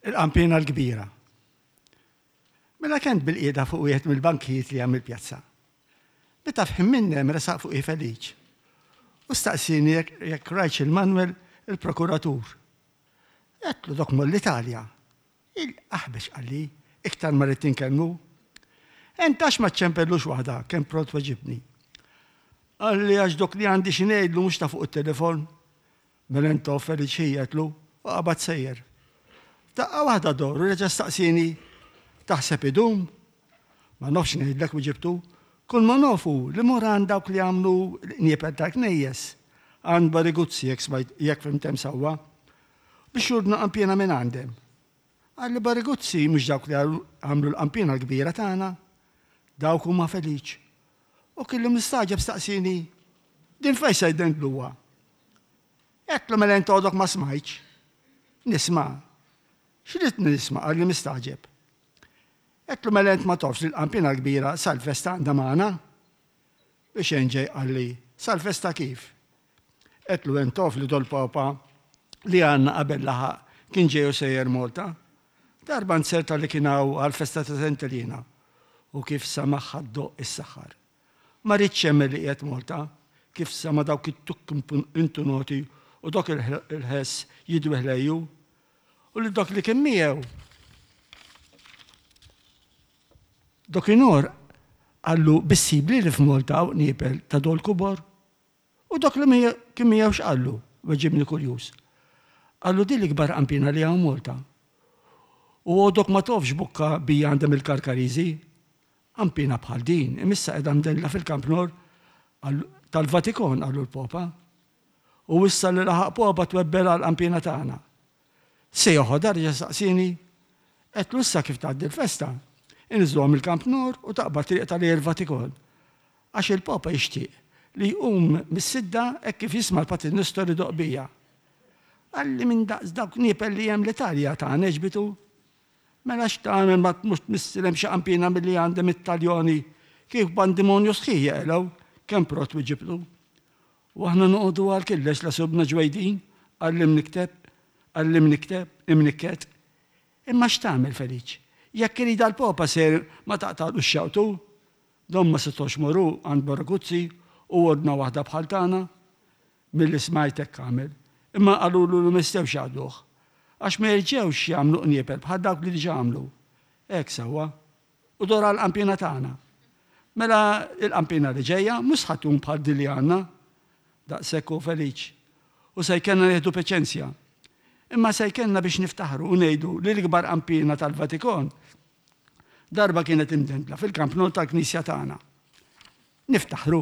Il-qanpiena l-kbira. Mela kent bilqiegħda fuq wieħed mill-bankijiet li hemm il-pjazza. Meta f'ħin minnhem resaq fuqi Feliċ u staqsieni jekk rajtx il-Manwel il-prokuratur. Għedtlu dok mor l-Italja. Il-aħbex qalli, iktar ma ridt inkellmu. Ent għax ma ċċempellux waħda, kemm pront weġibni. Qalli għax dok li għandi xi ngħidlu mhux ta' fuq it-telefon. Mela int off Feliċ ħi għedtlu u qabad sejjer. F'daqqa waħda dor u reġa' staqsieni, Taħseb idum? Ma nafx ngħidlek wiġibtu. Kull ma naf hu li mor għand dawk li jagħmlu l-qniepel tal-knejjes, għand Bariguzzi jekk smajt jekk fhimt hemm sewwa, biex jordna qanpiena minn għandhem. Qalli Bariguzzi mhux dawk li għamlu l-qanpiena l-kbira tagħna. Dawk huma Feliċ. U kellu mistagħġeb staqsieni, Din fejn se jdendluha? Għedtlu mela int għodok ma smajtx. Nisma'. X'ridt nisma' qalli mistagħġeb. Għedtlu mela int ma tafx li l-qanpiena l-kbira sal-festa għandha magħna? Biex enġej qalli, sal-festa kif? Għedtlu int taf li dol-Papa li għandna qabel laħaq kien ġej u sejjer Malta? Darba nzerta li kien hawn għall-festa ta' Sant'Elena u kif samagħha ddoqq is-saħħar. Ma riedx jemmen li qiegħed Malta, kif sama' dawk it-tukk intunoti u dok il-ħess jidwi ħlejju. U lil dok li kien miegħu. Dokinhor qallu bissibli li f'Malta hawn qniepel ta' dol kubor? U dak li kien miegħu x'qallu? Weġibni kurjuż. Qallu din l-ikbar qanpiena li hawn Malta. U għodok ma tofx bukka bija għandhom il-Karkariżi. Qanpiena bħal din, imissa qiegħda mdendla fil-Camp Nord tal-Vatikon, qallu l-Popa. U issa li laħaq Popa twebbel għall-qanpiena tagħna. Se joħodha reġa' staqsieni. Għedtlu issa kif tgħaddi l-festa, inniżżluha mill-Camp Nord u taqbad triq ta' lejn il-Vatikon. Għax il-Papa jixtieq li jqum mis-sidda hekk kif jisma' l-Patri Nestor idoqq bija. Qalli minn daqs dawk niepel li hemm l-Italja tagħna għeġbitu. Mela x'tagħmel ma tmurx tmissilhem xi qanpiena milli għandhom it-Taljoni kif bandimonju sħiħ jeqilgħu kemm pront wiġibtu. U aħna noqogħdu għal killex la sibna ġwejdin, qalli mnikteb, qalli mnikteb, imnikket. Imma x'tagħmel Feliċ? Jekk iridha l-Popa ser ma taqtagħlux xewqtu? Dawn ma setgħux moru għand Baraguzzi u ordna waħda bħal tagħna? Milli smajt hekk għamel. Imma qalulu li ma jistgħux jgħadduh. Għax ma jerġgħux jagħmlu qniepel bħal dawk li diġà għamlu. Hekk sewwa. U dor għall-qanpiena tagħna. Mela l-qanpiena li ġejja mhux ħa tkun bħal din li għandna. Daqshekk hu Feliċ. U se jkellna nieħdu paċenzja. Imma se jkellna biex niftaħru u ngħidu li l-ikbar qanpiena tal-Vatikon darba kienet imdendla fil-Camp Nou tal-knisja tagħna. Niftaħru.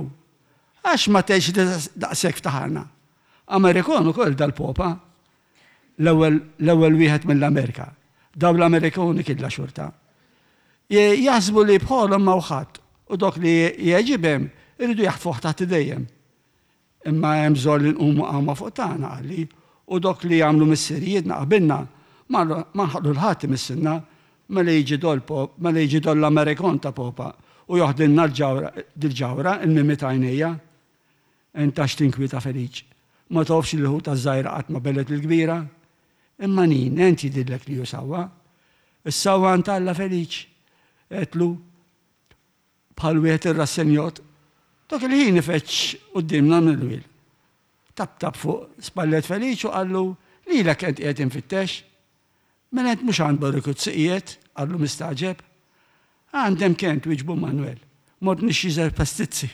Għax ma tgħidx li daqshekk ftaħarna. Amerikon ukoll dal-popa. L-ewwel l-ewwel wieħed mill-Amerika. Daw l-Amerikoni killa xorta. Jaħsbu li bħalhom ma ħadd u dok li jgħeġibhem iridu jaħtfuh taħt idejjem. Imma hemm bżonn li nqumu qawma fuq tagħna, qalli, u dok li għamlu missirijietna qabilna ma nħallu 'l ħadd imissilna mela jiġi dol mela jiġi dol l-Amerikon ta' Popa u joħdilna l-ġawhra dil-ġawhra il-mimmi t'għajnejja. Int għax tinkwieta Feliċ? Ma tofx li l-ħuta ż-żgħira qatt ma belgħet lill-kbira? Imma nin, ent jidhirlek li hu sewwa. Is-sewwa għand Alla Feliċ, għedtlu. Bħal wieħed irrassenjot, dak il-ħin ifeġġ quddiemna Manuel. Taptap fuq spallet Feliċ u qallu, Lilek ent qiegħed infittex. Mela ent mhux għand Borikuzzi qiegħed? qallu mistagħġeb. Għand hemm kent, wieġbu Manuel. Mort nixtri żewġ pastizzi.